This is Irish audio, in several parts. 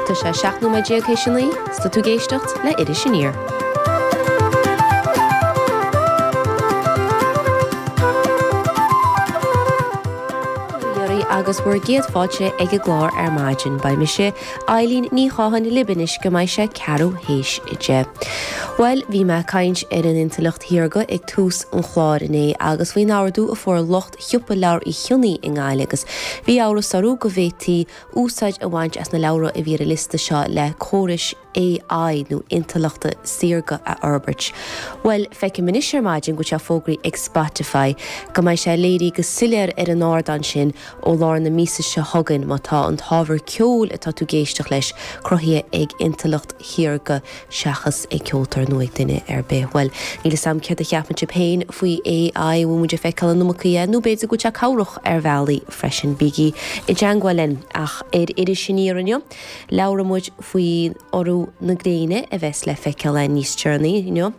Tá sé 17 nóiméad théis a 9, 's tá tú ag éisteacht le Iris Aniar. Agus bhur gcéad fáilte ag an gclár ar maidin. Beidh mise, Eileen Ní Chatháin, libh anois go mbeidh sé ceathrú théis 10. Bhuel, bhí mé ag caint ar an intleacht shaorga ag tús an chláir inné agus faoin ardú a fuair lucht Shiopa Leabhar Uí Chionnaith i nGaillimh agus bhí amhras orthu go bhféadfaí úsáid a bhaint as na leabhra a bhí ar an liosta seo le córais AI nó intleachta saorga a fhorbairt. Bhuel, feicim anois ar maidin go bhfuil sé fógraithe ag Spotify go mbeidh sé léirithe go soiléir ar an ardán sin ó lár na míosa seo chugainn má tá an t-ábhar ceoil atá tú ag éisteacht leis cruthaithe ag intleacht shaorga seachas ag ceoltóir nó ag duine ar bith. Bhuel, níl 'fhios a'm céard a cheapann sibh féin faoi AI, an bhfuil muid ag feiceáil an iomarca dhe nó b'fhéidir go bhfuil sé cabhrach ar bhealaí freisin. Bígí i dteangmháil linn. Ach ar Iris Aniar inniu, labhróidh muid faoi urú na gréine a bheas le feiceáil againn níos deireanaí inniu.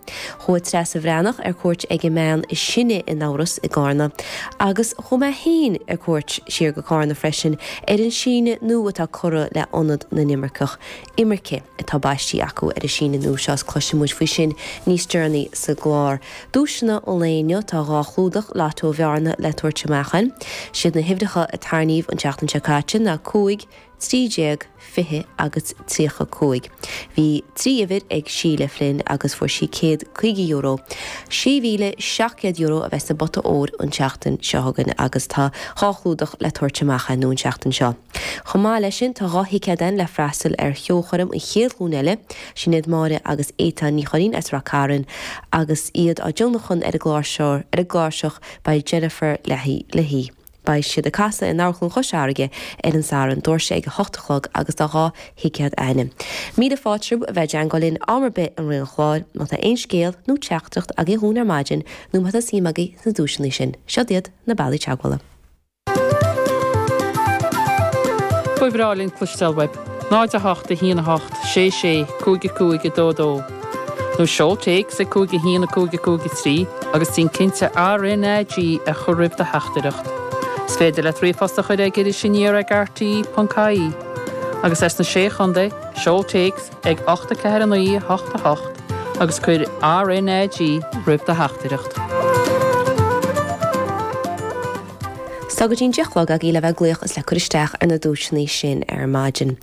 Chuaigh Treasa Bhreathnach ar cuairt ag an mbean is sine in Eabhras i gCarna agus chuaigh mé féin ar cuairt siar go Carna freisin ar an síneadh nua atá curtha le Ionad na nImirceach. Imirce atá baistí acu ar an síneadh nua seo is cloisfidh muid faoi sin níos deireanaí sa gclár. Duaiseanna an lae inniu, tá 2 chlúdach Lotto Bhearna le tabhairt amach againn. Siad na huimhreacha a tarraingíodh an tseachtain seo caite ná 5, 13, 20 agus 35. Bhí 3 uimhir ag Síle Flynn agus fuair sí €150. €6,700 a bheas sa bpota óir an tseachtain seo chugainn agus tá 2 chlúdach le tabhairt amach againn an tseachtain seo. Chomh maith leis sin, tá 2 thicéad againn le freastal ar cheolchoirm An Chéad Ghlúin Eile, sin iad Máire agus Étáin Ní Churraoin as Rath Cairn, agus iad á dtionlacan ar an gcláirseach beidh Jennifer Leahy. Beidh siad ag casadh in Amharclann Chois Fharraige ar an Satharn, doirse ag a hocht a chlog agus tá 2 thicéad againn. Míle fáilte romhaibh a bheith i dteangmháil linn am ar bith i rith an chláir, má tá aon scéal nó teachtaireacht agaibh dhúinn ar maidin nó má tá suim agaibh sna duaiseanna sin. Siod iad na bealaí teagmhála. Ba bhreá linn cloisteáil uaibh. 0 8 1 8 6 6 5 5 2 2 Nó seol téacs ag 5 1 5 5 3 agus déan cinnte RNAG a chur roimh do theachtaireacht. Is féidir leat ríomhphost a chur ag Iris Aniar ag rte.ie. Agus as na Sé Chontae, seol téacs ag 8 4 9 8 8 agus cuir RNAG roimh do theachtaireacht. Tá go dtí'n 10 a chlog agaibh le bheith ag glaoch is le cur isteach ar na duaiseanna sin ar maidin.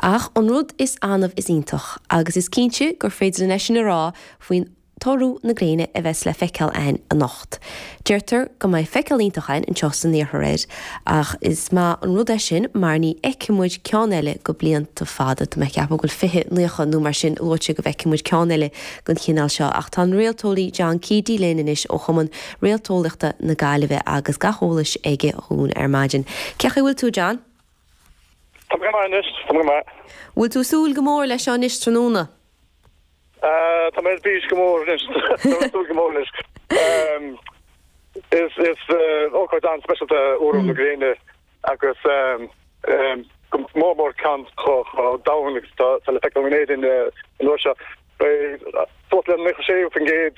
Ach an rud is annamh is iontach, agus is cinnte gur féidir linn é sin a rá faoin t-urú na gréine a bheas le feiceáil againn anocht. Deirtear go mbeidh feiceáil iontach againn anseo san iarthar air, ach is maith an rud é sin mar ní fheicfidh muid ceann eile go blianta fada. Tá mé ag ceapadh go bhfuil 2090 nó mar sin luaite go bhfeicfidh muid ceann eile den chineál seo. Ach tá an réalteolaí John Keady linn anois ó Chumann Réalteolaíochta na Gaillimhe agus gach eolais aige dhúinn ar maidin. Cén chaoi a bhfuil tú, John? Tá mé go maith anois, tá mé go maith. Bhfuil tú ag súil go mór leis seo anois tráthnóna? Tá mé ar bís go mór anois, tá mé ag súil go mór leis. Is ócáid an-speisialta urú na gréine agus go mór mór ceann chomh domhain agus atá le feiceáil in Éirinn an uair seo. Beidh suas le 96%.